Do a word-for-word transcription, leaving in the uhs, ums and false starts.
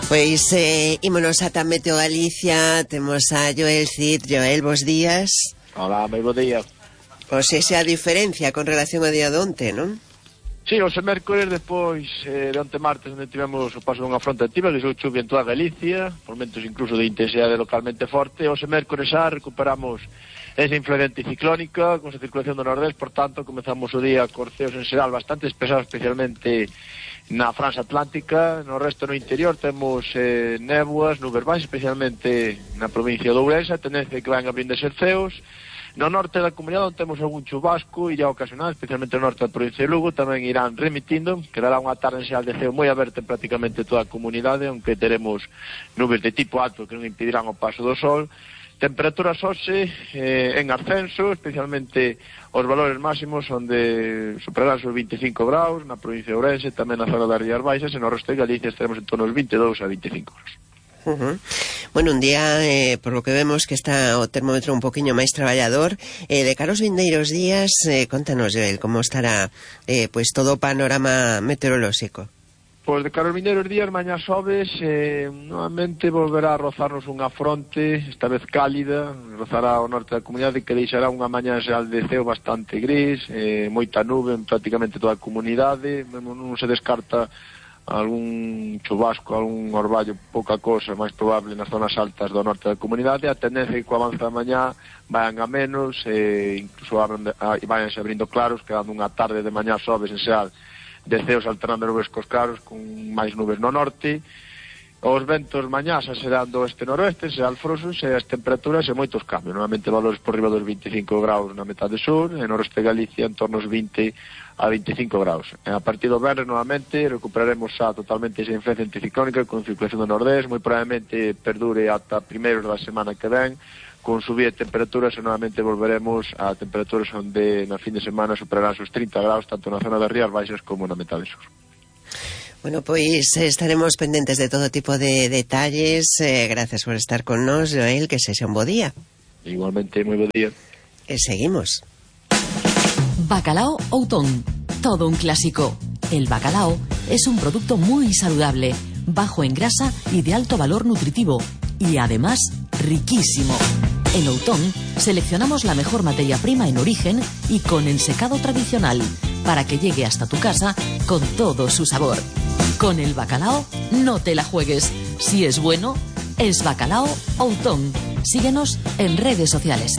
Pois eh, ímonos ata Meteo Galicia. Temos a Joel Cid. Joel, bos días. Hola, moi bo día. Pois esa a diferencia con relación ao día de onte, non? Sí, hoxe mércores, depois eh, de onte martes, onde tivemos o paso dunha fronte activa, que sou chuvia en toda Galicia, momentos incluso de intensidade localmente forte. Hoxe mércores xa recuperamos esa influencia ciclónica, con esa circulación do nordés, por tanto, comezamos o día con ceos en xeral bastante despejados, especialmente na franxa atlántica. No resto, no interior, temos eh, néboas, nubes baixas, especialmente na provincia de Ourense, tendencia que van abrindo ser ceos. No norte da comunidade temos algún chubasco e ya ocasional, especialmente no norte da provincia de Lugo, tamén irán remitindo, quedará unha tarde en xeral de ceo moi aberta en prácticamente toda a comunidade, aunque teremos nubes de tipo alto que non impedirán o paso do sol. Temperaturas hoxe eh, en ascenso, especialmente os valores máximos onde superarán os veinticinco graus na provincia de Ourense, tamén na zona das Rías Baixas, e no resto de Galicia estaremos en torno aos veintidous a veinticinco graus. Uh-huh. Bueno, un día, eh, por lo que vemos que está o termómetro un poquinho máis traballador, eh, de cara aos vindeiros días, eh, contanos, Joel, como estará eh, pues todo o panorama meteorolóxico. Pois de cara aos vindeiros días, mañá xoves, eh, novamente volverá a rozarnos unha fronte, esta vez cálida, rozará ao norte da comunidade, que deixará unha mañá xeral de ceo bastante gris, eh, moita nube en prácticamente toda a comunidade, non se descarta algún chubasco, algún orballo, pouca cosa, máis probable nas zonas altas do norte da comunidade. A tendencia é que co avanza da mañá vayan a menos, eh, incluso abren, a, vayanse abrindo claros, quedando unha tarde de mañá xoves en xeral de ceos alternando nubes cos claros, con máis nubes no norte. Os ventos mañá xa serán do este-noroeste, será alfrosos, e as temperaturas e moitos cambios, normalmente valores por riba dos veinticinco graus na metade sur, e no resto de Galicia en torno aos vinte a veinticinco graus. E a partir do venres, novamente, recuperaremos xa totalmente esa influencia anticiclónica con circulación do nordés, moi probablemente perdure ata primeiros da semana que ven, con subida de temperaturas, e novamente volveremos a temperaturas onde na fin de semana superarán os trinta graus, tanto na zona das Rías Baixas como na metade sur. Bueno, pois estaremos pendentes de todo tipo de detalles. Eh, gracias por estar con nos, Joel, que sexa un bo día. Igualmente, moi bo día. E seguimos. Bacalao Outón, todo un clásico. El bacalao es un producto muy saludable, bajo en grasa y de alto valor nutritivo, y además riquísimo. En Outón seleccionamos la mejor materia prima en origen y con ensecado tradicional, para que llegue hasta tu casa con todo su sabor. Con el bacalao no te la juegues. Si es bueno, es Bacalao Outón. Síguenos en redes sociales.